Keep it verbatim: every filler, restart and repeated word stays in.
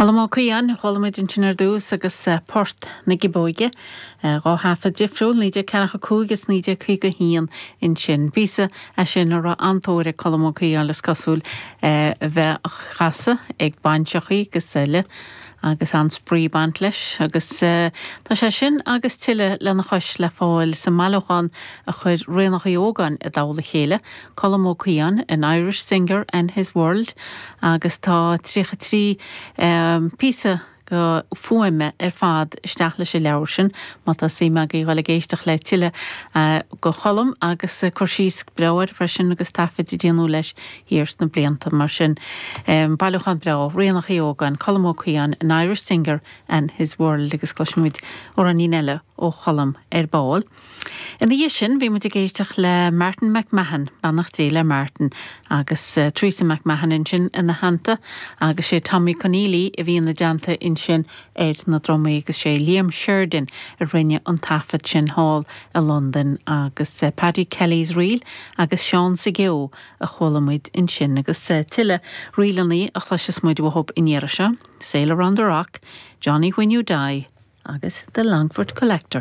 Colm Ó Caodháin, chuala muid ansin ar dtús agus Port na Giobóige, dhá thaifead difriúil, naoi déag ceathracha cúig is naoi déag caoga haon ansin. Píosa é sin a raibh an-tóir ag Colm Ó Caodháin is cosúil a bheith á chasadh ag bainseachaí agus eile agus an-spraoi ag baint leis agus tá sé sin agus tuilleadh lena chois le fáil sa mbailiúchán a chuir Ríonach Uí Ógáin i dtoll a chéile, Colm Ó Caodháin, an Irish Singer and His World agus tá tríocha trí píosa go fuaime ar fad isteach leis an leabhar sin, má tá suim agaibh dul ag éisteacht le tuilleadh go Cholm agus cur síos breá air freisin agus taifid a déanadh leis thiar sna blianta mar sin. Bailiúchán breá, Ríonach Uí Ógáin, Colm Ó Caodháin, an Irish Singer and His World agus cloisfimid amhráinín eile ó Cholm ar ball. Ina dhiaidh sin bhí muid ag éisteacht le Martin McMahon, beannacht Dé le Martin, agus Teresa McMahon ansin ina theannta agus sé Tommy Conneely a bhí ina dteannta ansin ar na drumaí agus sé Liam Sheridan a rinne an taifead sin thall i Londain agus Paddy Kelly's Reel agus Seán sa gCeo a chuala muid ansin agus tuilleadh ríleanna a chloisfeas muid uathu an iarraidh seo, Sailor on the Rock, Johnny When You Die agus The Longford Collector.